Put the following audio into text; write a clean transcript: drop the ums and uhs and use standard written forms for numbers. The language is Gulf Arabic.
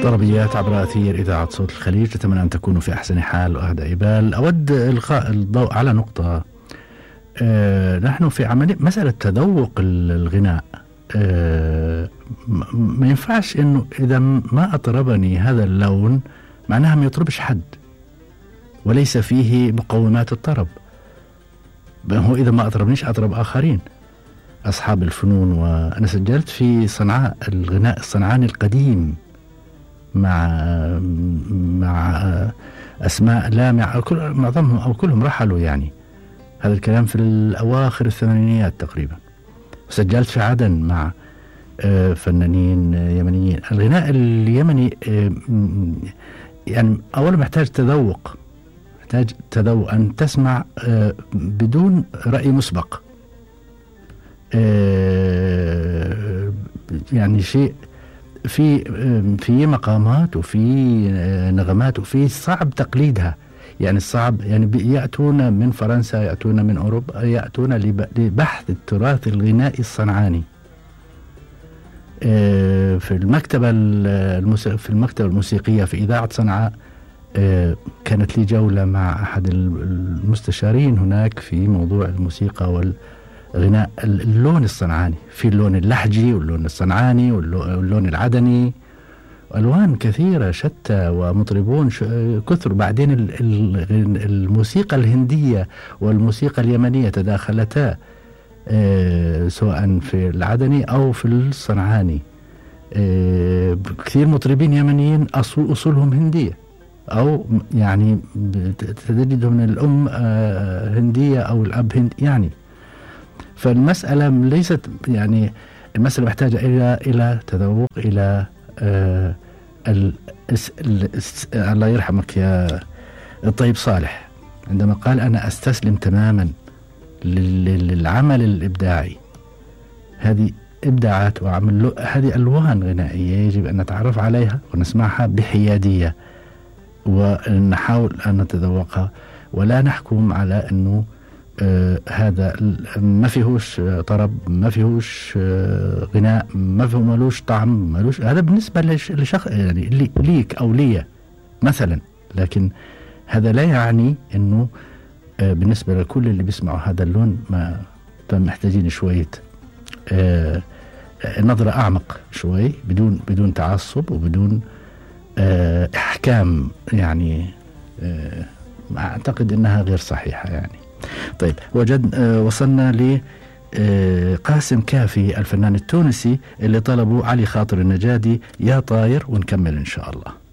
طربيات عبر أثير إذاعة صوت الخليج. أتمنى أن تكونوا في أحسن حال وأهدى بال. أود إلقاء الضوء على نقطة. نحن في عملية مسألة تذوق الغناء. ما ينفعش إنه إذا ما أطربني هذا اللون معناها ما يطربش حد وليس فيه مقومات الطرب. هو إذا ما أطربنيش أطرب آخرين أصحاب الفنون. وأنا سجلت في صنعاء الغناء الصنعاني القديم مع أسماء لامع، معظمهم أو كلهم رحلوا يعني. هذا الكلام في الأواخر الثمانينيات تقريبا. وسجلت في عدن مع فنانين يمنيين. الغناء اليمني يعني أولا محتاج تذوق، محتاج تذوق أن تسمع بدون رأي مسبق. يعني شيء في مقامات وفي نغمات وفي صعب تقليدها. يعني الصعب يعني يأتون من فرنسا، يأتون من أوروبا، يأتون لبحث التراث الغنائي الصنعاني. في المكتبة الموسيقية في إذاعة صنعاء كانت لي جولة مع أحد المستشارين هناك في موضوع الموسيقى والغناء. اللون الصنعاني، في اللون اللحجي واللون الصنعاني واللون العدني، ألوان كثيرة شتى ومطربون كثر. بعدين الموسيقى الهندية والموسيقى اليمنية تداخلتا سواء في العدني أو في الصنعاني. كثير مطربين يمنيين أصولهم هندية أو يعني تجدهم من الأم هندية أو الأب هندي يعني. فالمسألة ليست يعني المسألة محتاجة إلى تذوق، إلى الله يرحمك يا الطيب صالح عندما قال أنا أستسلم تماما للعمل الإبداعي. هذه إبداعات وعمل، هذه ألوان غنائية يجب أن نتعرف عليها ونسمعها بحيادية ونحاول أن نتذوقها، ولا نحكم على أنه هذا ما فيهوش طرب، ما فيهوش غناء، ما فيه ملوش طعم، ملوش. هذا بالنسبة لشخص يعني ليك أو لي مثلا، لكن هذا لا يعني أنه بالنسبة لكل اللي بيسمعوا هذا اللون ما محتاجين شوية نظرة أعمق شوي، بدون تعصب وبدون إحكام يعني. أعتقد أنها غير صحيحة يعني. طيب وصلنا لقاسم كافي الفنان التونسي اللي طلبوا علي خاطر النجادي يا طاير، ونكمل إن شاء الله.